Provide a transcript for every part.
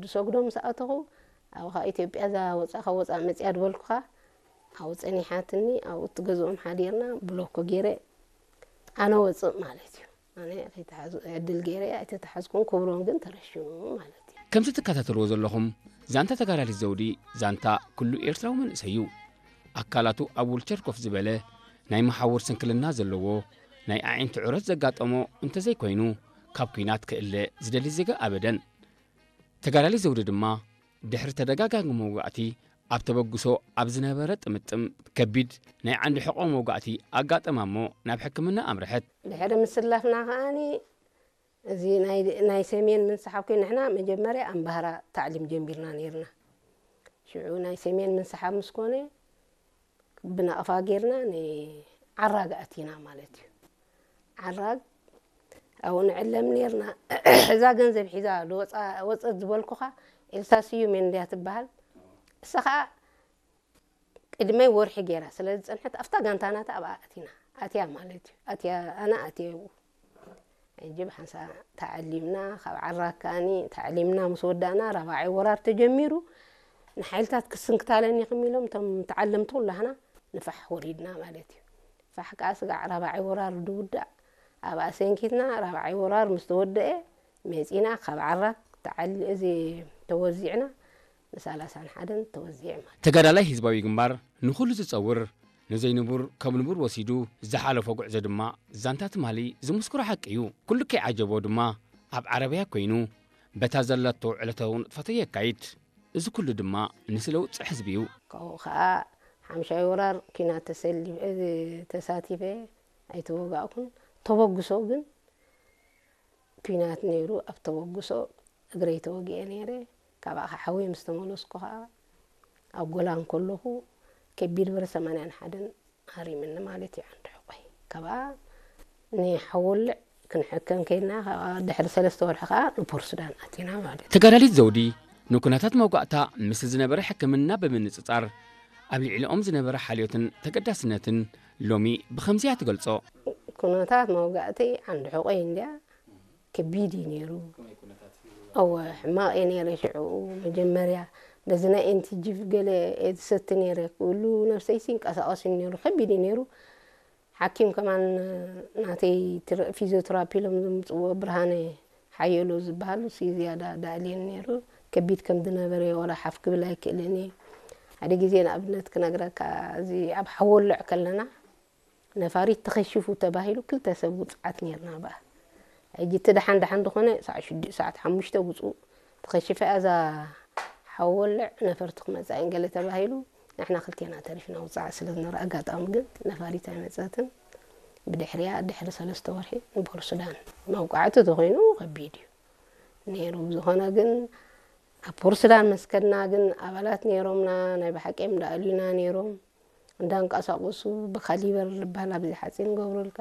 ዝሰግዶ ምስ ኣተኹ፣ ኣብ ኸዓ ኢትዮጵያ እዛ ወፃእ ካብ ወፃእ መፅያ ዝበልኩኻ፣ ኣብኡ ፀኒሓትኒ። ኣብኡ እቲ ገዝኦም ሓዲርና፣ ብሎኮ ገይረ ኣነ ወፅእ ማለት እዩ። ኣነ ከይተሓዙ ዕድል ገይረ ኣይተተሓዝኩን፣ ክብሮም ግን ተረሽኑ ማለት እዩ። ከምቲ ትከታተልዎ ዘለኹም፣ ዛንታ ተጋዳሊት ዘውዲ ዛንታ ኩሉ ኤርትራዊ መንእሰይ እዩ። ኣካላቱ ኣብ ውልቸር ኮፍ ዝበለ፣ ናይ መሓውር ስንክልና ዘለዎ፣ ናይ ኣዒንቲ ዑረት ዘጋጠሞ እንተዘይኮይኑ፣ ካብ ኲናት ክእለ ዝደሊ ዜጋ ኣበደን። ተጋዳሊት ዘውዲ ድማ፣ ድሕሪ ተደጋጋሚ መውጋእቲ፣ ኣብ ተበግሶ ኣብ ዝነበረ ጥምጥም ከቢድ ናይ ዓንዲ ሕቖ መውጋእቲ ኣጋጠማ እሞ ናብ ሕክምና ኣምርሐት። ድሕሪ ምስላፍና ከኣኒ፣ እዚ ናይ፣ ናይ ሰሜን ምንስሓብ ኮይኑ፣ ንሕና መጀመርያ ኣምባህራ ታዕሊም ጀሚርና ነይርና። ሽዑ ናይ ሰሜን ምንስሓብ ምስ ኮነ፣ ብናቕፋ ጌርና ንዓራግ ኣቲና ማለት እዩ። ዓራግ ኣብኡ ንዕለም ኔርና። እዛ ገንዘብ ሒዛ ዝወፃ-፣ ወፀት ዝበልኩኻ ኤልሳ ስዩም እንድያ ትበሃል። እሳ ኸዓ ቅድመይ ወርሒ ጌራ ስለ ዝፀንሐት፣ ኣብታ ጋንታ ናታ ኣብኣ ኣቲና። ኣትያ ማለት እዩ። ኣትያ፣ ኣነ ኣትየ ኣብኡ። ሕጂ ብሓንሳ ተዓሊምና፣ ካብ ዓራግ ከኣኒ ተዓሊምና ምስ ወዳእና፣ ራብዓይ ወራር ተጀሚሩ። ንሓይልታት ክስንክታለን ኢኹም ኢሎም እቶም ተዓለምቲ ኩላህና ንፋሕ ወሪድና ማለት እዩ። ፋሕ ከኣ ስጋዕ ራብዓይ ወራር ዝውዳእ ኣብኣ ሰንኪትና፣ ራብዓይ ወራር ምስ ተወደአ መጺና፣ ካብ ዓራግ ተዓሊ-፣ እዚ ተወዚዕና፣ ንሳላሳን ሓደን ተወዚዐ ማለት። ተጋዳላይ ህዝባዊ ግንባር ንኹሉ ዝጸውር፣ ንዘይንቡር ከም ንቡር ወሲዱ ዝሓለፎ ጉዕዞ ድማ ዛንታ ትማሊ ዝምስክሮ ሓቂ እዩ። ኩሉ ከይዓጀቦ ድማ ኣብ ዓረብያ ኮይኑ በታ ዘለቶ ዕለታዊ ንጥፈቶ የካይድ። እዚ ኩሉ ድማ ንስለ ውጽዕ ህዝቢ እዩ። ካብኡ ኸኣ ሓምሻይ ወራር ኲናት ተሰሊ-፣ ተሳቲፈ ኣይተወጋእኩን። ተበግሶ ግን ኲናት ነይሩ። ኣብ ተበግሶ እግረይ ተወጊኤ ነይረ። ካብኣ ኸዓ ሓወይ ምስ ተመለስኩ ኸዓ ኣብ ጎላን ከለኹ ከቢድ ብረት ሰማንያን ሓደን ሃሪምኒ ማለት እዩ ዓንዲ ሕቆይ። ካብኣ ንሓወልዕ ክንሕከም ከይድና፣ ካብኣ ድሕሪ ሰለስተ ወርሒ ኸዓ ንፖርት ሱዳን ኣቲና ማለት እዩ። ተጋዳሊት ዘውዲ ንኩነታት መውጋእታ ምስ ዝነበረ ሕክምና ብምንጽጻር ኣብ ልዕሊኦም ዝነበረ ሓልዮትን ተገዳስነትን ሎሚ ብኸምዚ እያ ትገልጾ። ኩነታት መውጋእቲ ዓንዲ ሕቆይ እንድያ ከቢድ እዩ ነይሩ። እወ፣ ሕማቕ እዩ ነይረ ሽዑ። መጀመርያ በዚ ናይ ኤንቲጂቭ ገለ እየ ዝሰቲ ነይረ። ኩሉ ነብሰይሲ ይንቀሳቐስ እዩ ነይሩ። ከቢድ እዩ ነይሩ። ሓኪም ከማን ናተይ ትረ-፣ ፊዚዮቴራፒ ኢሎም ዘምጽዎ ብርሃነ ሓየሎ ዝበሃል፣ እሱ ዝያዳ ዳእልየን ነይሩ። ከቢድ ከም ዝነበረ ዋላ ሓፍ ክብል ኣይክእልን እየ። ሓደ ግዜ ንኣብነት ክነግረካ፣ እዚ ኣብ ሓወልዕ ከለና፣ ነፋሪት ተኸሺፉ ተባሂሉ ክልተ ሰብ ውጽዓት ነይርና በኣ። ሕጂ እቲ ደሓን ደሓን ዝኾነ ሰዓት ሽዱሽተ፣ ሰዓት ሓሙሽተ ውጽኡ ተኸሺፈ እያ እዛ ሓወልዕ፣ ነፈርቲ ክመጻ እየን ገለ ተባሂሉ፣ ንሕና ክልቴና ተሪፍና ውጽዓት ስለ ዝነበረ፣ ኣጋጣሚ ግን ነፋሪት ኣይመጸትን። ብድሕሪያ ድሕሪ ሰለስተ ወርሒ ንፖርት ሱዳን መውቃዕቲ ተኾይኑ ከቢድ እዩ ነይሩ። ብዝኾነ ግን ኣብ ፖርት ሱዳን መስከድና ግን ኣባላት ነይሮምና፣ ናይ ብሓቂ እዮም ደኣልዩና ነይሮም። እንዳንቀሳቐሱ ብካሊበር ዝበሃል ኣብዚ ሓፂን ገብሩልካ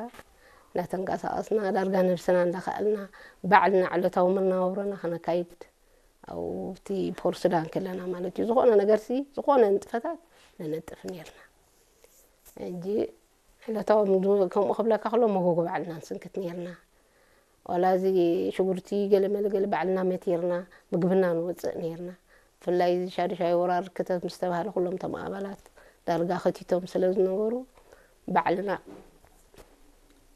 እንዳተንቀሳቐስና ዳርጋ ነብስና እንዳኸኣልና ባዕልና ዕለታዊ መናባብሮና ከነካይድ ኣብቲ ፖርት ሱዳን ከለና ማለት እዩ። ዝኾነ ነገርሲ፣ ዝኾነ ንጥፈታት ነነጥፍ ነይርና። ሕጂ ዕለታዊ ምግቢ ከምኡ ክብለካ ከሎ መጎጎ ባዕልና ንስንክት ነይርና። ዋላ እዚ ሽጉርቲ ገለ መለ ገለ ባዕልና መቲርና ምግብና ንወፅእ ነይርና። ብፍላይ እዚ ሻዱሻይ ወራር ክተት ምስ ተባህለ ኩሎም እቶም ኣባላት ዳርጋ ከቲቶም ስለ ዝነበሩ ባዕልና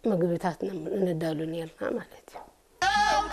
ምግብታት ነ-፣ ነዳሉ ነይርና ማለት እዩ።